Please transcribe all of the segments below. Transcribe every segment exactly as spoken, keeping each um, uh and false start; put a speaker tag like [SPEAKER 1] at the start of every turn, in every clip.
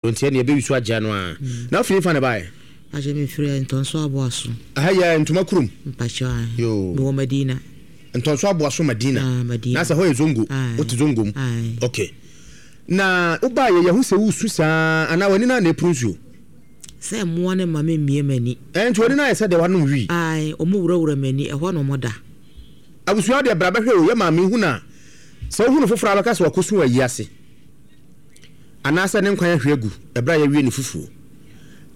[SPEAKER 1] Nti ɛne ɛbɛwi so agya no a na afei fa ne baɛ.
[SPEAKER 2] Akyɛ mefiri Ntɔnso Aboaso.
[SPEAKER 1] Aha yɛ ntoma kurom.
[SPEAKER 2] Mpakyɛ.
[SPEAKER 1] Yo.
[SPEAKER 2] Mewɔ Madina.
[SPEAKER 1] Ntɔnso Aboaso Madina.
[SPEAKER 2] Ah, Madina.
[SPEAKER 1] Na sɛ hɔ yɛ Zongo.
[SPEAKER 2] Aye.
[SPEAKER 1] Wote Zongo mu.
[SPEAKER 2] Aye.
[SPEAKER 1] Okay, na wobaa yɛ yɛho sɛ wosu saa anaa w'ani no a na ɛpuru nsuo?
[SPEAKER 2] Sɛ mmoa no ma memmie m'ani.
[SPEAKER 1] Ɛnti w'ani no ayɛ sɛ deɛ wanom wii.
[SPEAKER 2] Ae, ɔmo wurawura m'ani, ɛhɔ na ɔmo da.
[SPEAKER 1] Abusua deɛ, bra bɛhwɛ o. Yɛ maame hu no a, sɛ wohu no foforɔ a, bɛka sɛ wakɔsu wɔ ayi ase anaasɛ ne nkwan ahwe agu ɛberɛ a yɛawie ne fufuo,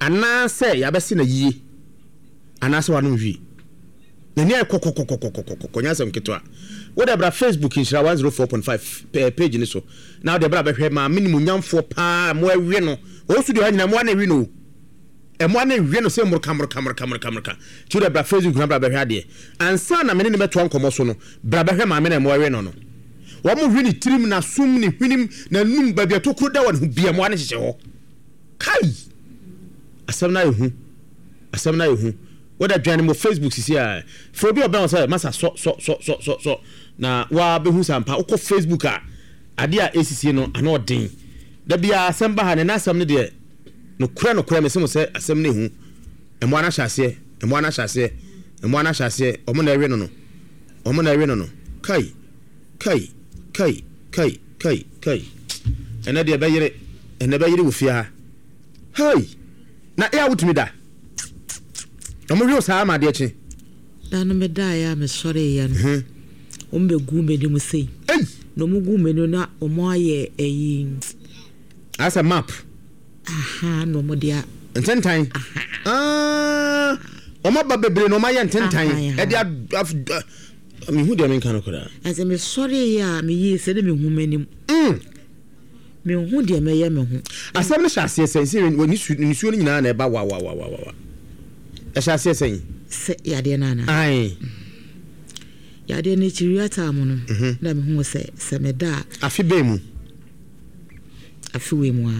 [SPEAKER 1] anaasɛ yɛabɛse no yie, anaasɛ wanom hwii. N'ani ayɛ kɔkɔkɔkɔkɔkɔkɔ, nyɛ asɛm ketewa. Wode bra Facebook Nhyira one oh four point five page ne so na wode bra bɛhwɛ maame nimonyamfoɔ paa. Mo awie no ɔwɔ studio ha nyina, mmoa no awi no o, ɛmoa no awie no sɛ mmorka mmorka mmorka mmorka mmorka. Nti wode bra Facebook na bra bɛhwɛ adeɛ ansa na mene ne bɛtoa nkɔmmɔ so no. Bra bɛhwɛ maame na ɛmoa awie no no wɔn hwe ne tirim, n'asom, ne hwenem, n'anum, baabi a tokuro da wɔ ne ho bia, mmoa no hyehyɛ hɔ. Kai, asɛm no ayɛ hu, asɛm no ayɛ hu. Wode dwane mo Facebook sisi a, frɛ obi a ɔbɛn wo sɛ masa sɔ sɔ sɔ sɔ sɔ sɔ na waa bɛhu sɛ ampa wokɔ Facebook a, adeɛ a ɛsisie no ano ɔden. Da biara asɛm ba ha ne n'asɛm no deɛ, nokorɛ nokorɛ mese mo sɛ asɛm no ɛhu. Mmoa no ahyɛ aseɛ, mmoa no ahyɛ aseɛ, mmoa no ahyɛ aseɛ. Ɔmo na ɛwe no no ɔmo na ɛwe no no Kai, kai, kai, kai, kai, kai, ɛnɛ deɛ ɛbɛyere, ɛnɛ ɛbɛyere wɔ fie ha. Hei, na ɛyɛ a wotumi da ɔmo hwe wo saa ama adeɛ kye?
[SPEAKER 2] Da no medaeɛ a mesɔreeɛ no, ɔmo bɛgu m'anim sei.
[SPEAKER 1] Ei!
[SPEAKER 2] Na ɔmo gu m'anim na ɔmo ayɛ ɛyi.
[SPEAKER 1] Asɛ map.
[SPEAKER 2] Aha, na ɔmo de a
[SPEAKER 1] ntentan. Ah, ɔmo aba bebree na ɔmo ayɛ ntentan.
[SPEAKER 2] Aha,
[SPEAKER 1] ɛde ad mehu deɛ menka no koraa.
[SPEAKER 2] Ɛsɛ mesɔreeɛ a meyie sɛ ne mehu m'anim.
[SPEAKER 1] Mm.
[SPEAKER 2] Mehu deɛ mɛyɛ me ho.
[SPEAKER 1] Asɛm no hyɛ aseɛ sɛn sɛ wɔ nisu nisuo no nyinaa na ɛba wawawawawa? Ɛhyɛ aseɛ sɛn?
[SPEAKER 2] Sɛ yadeɛ no anaa?
[SPEAKER 1] Ae.
[SPEAKER 2] Yadeɛ no akyi wia mu no
[SPEAKER 1] Mhm.
[SPEAKER 2] na mehu sɛ sɛ meda a.
[SPEAKER 1] Afe bɛn mu?
[SPEAKER 2] Afe wei mu a.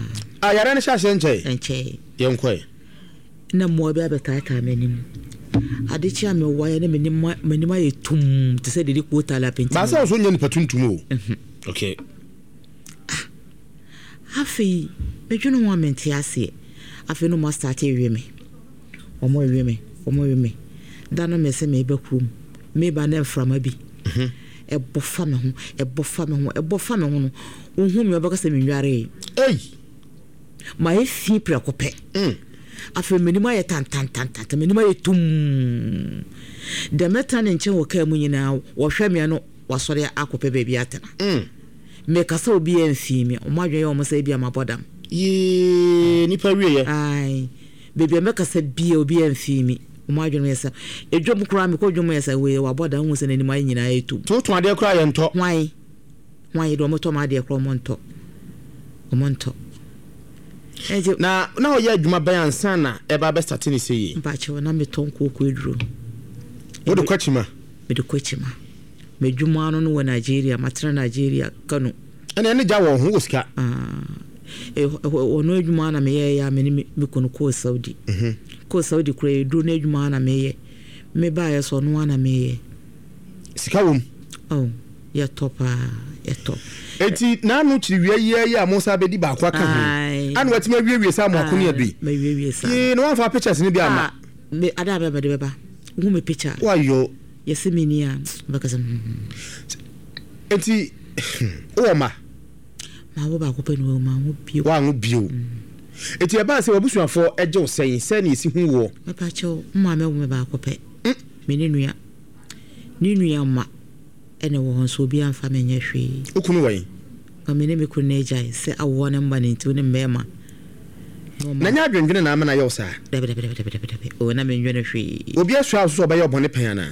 [SPEAKER 1] A yare no hyɛ aseɛ nkyɛe?
[SPEAKER 2] Nkyɛe.
[SPEAKER 1] Yɛnkɔe.
[SPEAKER 2] Na mmoa bi abɛtaataa m'anim. Ade kye a mewaeɛ na m'anim m'anim ayɛ tum te sɛ dede kootale apɛnti.
[SPEAKER 1] Baasa wo so nyɛ nipa tuntum o. Okay.
[SPEAKER 2] Afei medwene ho a mente aseɛ. Afei no mo astart ewie me, ɔmo ewie me, ɔmo ewie me. Da no me sɛ meba kurom, meba ne mframa bi ɛbɔ fa me ho, ɛbɔ fa me ho, ɛbɔ fa me ho no, wohu me, ɔbɛka sɛ menwaree.
[SPEAKER 1] Ei!
[SPEAKER 2] Mayɛ fi prɛko pɛ.
[SPEAKER 1] Mm.
[SPEAKER 2] Afei m'anim ayɛ tantantantan, m'anim ayɛ tum. Deɛ mɛtena ne nkyɛn wɔ kaa mu nyinaa, wɔhwɛ me no, wasɔre akɔpɛ baabi atena.
[SPEAKER 1] Mm.
[SPEAKER 2] Mekasa, obi yɛ mfii me. Ɔmo adwene yɛ ɔmo sɛ ebi a mabɔ dam.
[SPEAKER 1] Yee, nipa wieɛ.
[SPEAKER 2] Ae, baabi a mɛkasa bia, obi yɛ mfii me. Ɔmo adwene yɛ sɛ edwom koraa mekɔ dwom yɛ sɛ wei wabɔ dam, wohu sɛ n'anim ayɛ nyinaa yɛ tum.
[SPEAKER 1] Nti wotɔn adeɛ koraa yɛntɔ?
[SPEAKER 2] Hwan hwan deɛ, ɔmo tɔ mo adeɛ koraa, ɔmo ntɔ, ɔmo ntɔ. Ɛnti
[SPEAKER 1] na na ɔyɛ adwuma bɛn ansa na ɛba bɛstart ne sɛ yie?
[SPEAKER 2] Mpakyɛw, na metɔn kooko aduro.
[SPEAKER 1] Wode kɔ akyima?
[SPEAKER 2] Mede kɔ akyima. M'adwuma no no wɔ Nigeria, matena Nigeria, Kano.
[SPEAKER 1] Ɛne ɛne gya wɔ ho wɔ sika?
[SPEAKER 2] Ɔno adwuma na meyɛyɛ a mene me kunu kɔɔ Saudi.
[SPEAKER 1] Mhm.
[SPEAKER 2] Kɔɔ Saudi koraa, ɛduro no adwuma na meyɛ. Mebaeɛ so, ɔno a na meyɛ.
[SPEAKER 1] Sika wom?
[SPEAKER 2] Oh, yɛtɔ paa, yɛtɔ.
[SPEAKER 1] Eti n'ano kyiri wia yi yi a mo nsa bɛdi baako aka ho
[SPEAKER 2] Ae.
[SPEAKER 1] ana watumi awiewie saa mo ako ne adui?
[SPEAKER 2] Mawiewie saa.
[SPEAKER 1] Yee, na wamfa pictures no bi ama?
[SPEAKER 2] Ah, me ada a bɛba de bɛba, wohu me picture a,
[SPEAKER 1] wayɔ.
[SPEAKER 2] Yɛsɛ meni a bɛka sɛ hmm.
[SPEAKER 1] Eti wowɔ ma?
[SPEAKER 2] Mawo baako pɛ ne wɔ, mawo bio.
[SPEAKER 1] Woanwo bio. Eti ɛbaa sɛ wabusuafoɔ agye wo sɛn sɛ ne ɛsi hu woɔ?
[SPEAKER 2] Mepa kyɛw, maame wo me baako pɛ. Me ne nua ne nua ma ɛna wɔ hɔ nso, obi amfa me nyɛ hwee.
[SPEAKER 1] Wo kunu wɔ yi?
[SPEAKER 2] Ma me ne me kunu no agyae sɛ awoɔ ne mba ne nti wo ne mmarima.
[SPEAKER 1] Na nyɛ adwendwene na ama no ayɛ wo saa?
[SPEAKER 2] Dabi, dabi, dabi, dabi, dabi o, na mendwene hwee.
[SPEAKER 1] Obi asua wo so sɛ ɔbɛyɛ ɔbɔne pɛn anaa?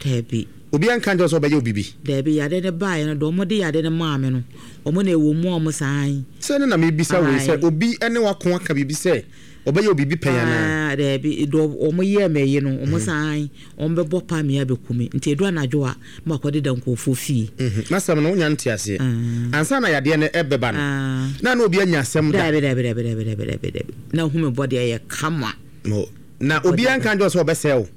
[SPEAKER 2] Dabi.
[SPEAKER 1] Obi anka nkyerɛ wo sɛ ɔbɛyɛ wo biribi?
[SPEAKER 2] Dabi, yade ne baeɛ no deɛ, ɔmo de yade no maa me no, ɔmo na ɛwɔ mu a ɔmo saa.
[SPEAKER 1] Sɛ ne na mebisa wei sɛ
[SPEAKER 2] Ae.
[SPEAKER 1] Obi ne wako aka biribi sɛ ɔbɛyɛ wo biribi pɛn anaa?
[SPEAKER 2] Ah, dabi, deɛ ɔmo yɛɛ me yi no, ɔmo saa, ɔmo bɛbɔ pa me abɛku me. Nti ɛdu anadwo a, ma akɔdeda nkurɔfoɔ fie.
[SPEAKER 1] Mhm. N'asɛm no wonya nte aseɛ. Ansa na yadeɛ no ɛbɛba no,
[SPEAKER 2] Ah.
[SPEAKER 1] na na obi anya asɛm da?
[SPEAKER 2] Dabi, dabi, dabi, dabi, dabi, dabi, dabi, na hu me bɔ deɛ yɛ kama.
[SPEAKER 1] Mo. Na obi anka nkyerɛ wo sɛ ɔbɛsɛe wo?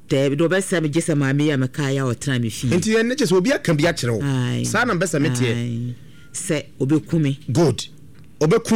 [SPEAKER 2] Dabi, deɛ ɔbɛsɛ me gye sɛ maame yi a mekaa yɛ a ɔtena me fie.
[SPEAKER 1] Nti ɛno kyerɛ sɛ obi aka bi akyerɛ wo?
[SPEAKER 2] Ae.
[SPEAKER 1] Saa na mpɛ sɛ meteɛ.
[SPEAKER 2] Ae. Sɛ ɔbɛku me.
[SPEAKER 1] Good. Ɔbɛkum.